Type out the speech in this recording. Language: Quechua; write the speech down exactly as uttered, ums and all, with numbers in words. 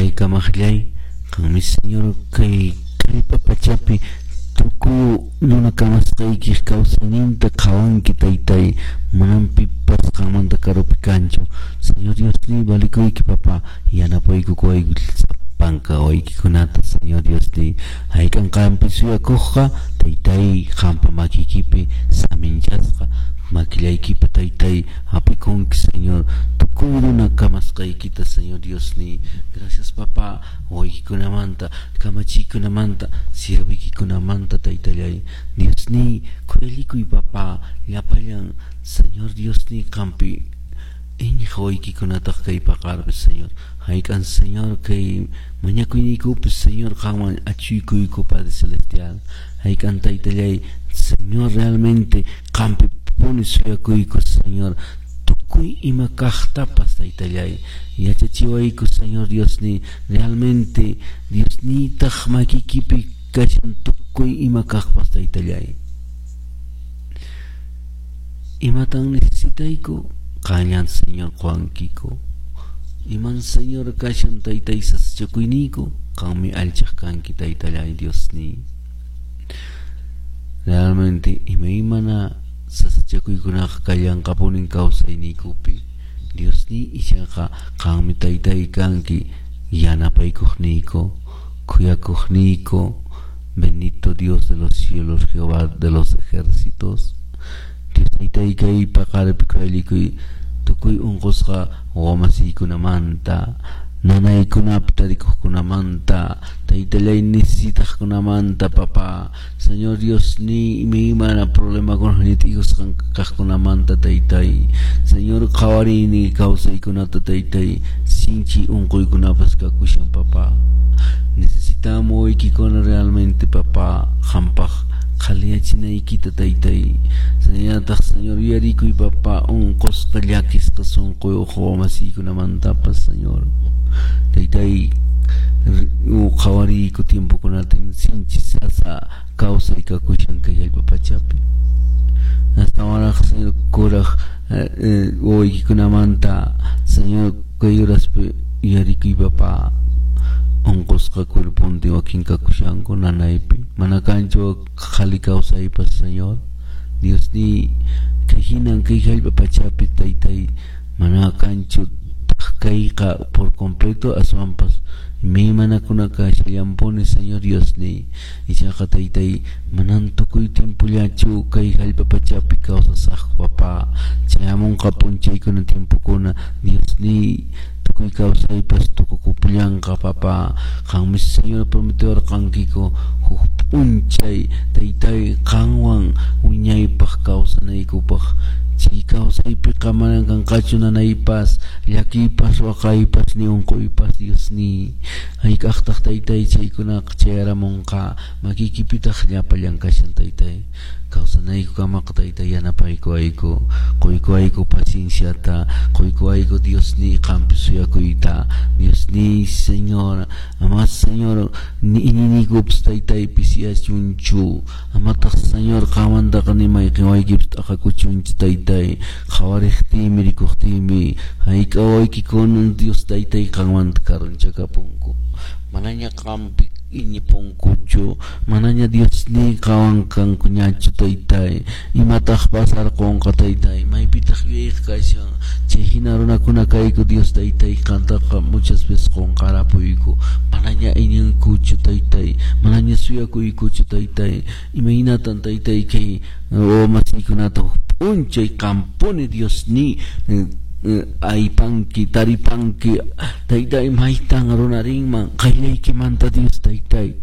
Taytay kamaqllay, qanmi Señor kay kallpa pachapi tukuy runa kamasqaykiq kawsayninta qhawanki taytay, manan pipas qanmanta karupi kanchu. Señor Diosniy, valikuyki papá, yanapaykukuwayku sapanka waykikunata Señor Diosniy. Hayk'an qanpi suyakuqqa taytay qanpa makiykipi saminchasqa, makillaykipi taytay hap'ikunki Señor, tukuy runa kamasqaykita Señor Diosniy. Gracias papá, waykikunamanta, kamachiykunamanta, siervoykikunamanta taytallay. Diosniy, khuyallikuy papá, llapallan Señor Diosniy qanpi iñiq waykikunataq kay paqarpi Señor. Hayk'an Señor kay mañakuyniykupi Señor qanman achuykuyku Padre Celestial. Hayk'an taytallay Señor realmente qanpi puni suyakuyku Señor. Tukuy ima kaqtapas taytallay yachachiwayku Señor Diosniy, realmente Diosniytaq makiykipi kashan tukuy ima kaqpas taytallay. Imatan necesitayku qanllan Señor quwankiku. Iman Señor kashan taytay sasachakuyniyku qanmi allchaq kanki taytallay Diosniy. Realmente imaymana sasachakuykunaqa kallanqapunin kawsayniykupi. Diosniy ichaqa qanmi taytay kanki yanapaykuqniyku, khuyakuqniyku. Bendito Dios de los cielos, Jehová de los ejércitos. Dios taytay kay paqaripi khuyallikuy tukuy unqusqa wamasiykunamanta, nanaykunapi tarikuqkunamanta, taytallay necesitaqkunamanta, papá. Señor Diosniy, imaymana problemakuna ñit'ikusqan kaqkunamanta taytay. Señor qhawarini kawsaykunata taytay, sinchi unquykunapas kakushan papá. Necesitamos waykikuna realmente papá, qampaq qhaliyachinaykita taytay. Señorataq Señor yuyarikuy papá, unqusqa llakisqa sunquyuq wamasiykunamantapas Señor. Taytay qhawariyku tiempokunata sinchi sasa kawsay kakushan kay allpa pachapi. Astawanraq Señor kuraq wawaykikunamanta Señor kay uraspi yuyarikuy papá. Unqusqa cuerpontin wakin kakushanku nanaypi, mana kanchu qhali kawsaypas Señor. Diosniy, kay hinan kay allpa pachapi taytay mana kanchu kayqa por completo aswanpas imaymanakuna kashallanpuni Señor Diosniy. Ichaqa taytay manan tukuy tiempollachu kay allpa pachapi kawsasaqku papá. Chayamunqa p'unchaykuna tiempokuna Diosniy tukuy kawsaypas tukukupullanqa papá. Qanmi Señor prometiwarqankiku huk p'unchay taytay qanwan wiñaypaq kawsanaykupaq. Chay kawsaypiqa manan kanqachu nanaypas, llakiypas, waqaypas, ni unquypas Diosniy. Hayk'aqtaq taytay chaykunaqa chayaramunqa, makiykipitaq llapallan kashan taytay. Kawsanaykukamaqa taytay yanapaykuwayku, quykuwayku pacienciata, quykuwayku Diosniy qanpi suyakuyta. Diosniy Señor, ama Señor ni iñiyniykupas taytay pisiyachunchu, amataq Señor qanmantaqa ni mayqin waykipas t'aqakuchunchu taytay. Qhawariqtiymi rikuqtiymi hayk'a waykikunan Dios taytay qanmanta karunchakapunku. Manaña qanpi iñipunkuchu, manaña Diosniy qanwan kankuñachu taytay. Imataq pasarqunqa taytay, maypitaq yuyayqa kashan. Chay hina runakuna kayku Dios taytay qantaqa muchas veces qunqarapuyku. Manaña iñinkuchu taytay, manaña suyakuykuchu taytay. Imaynatan taytay kay wamasiykunata p'unchay qanpuni Diosniy aypanki, taripanki taytay maytan runarinman qayllaykimanta Dios taytay.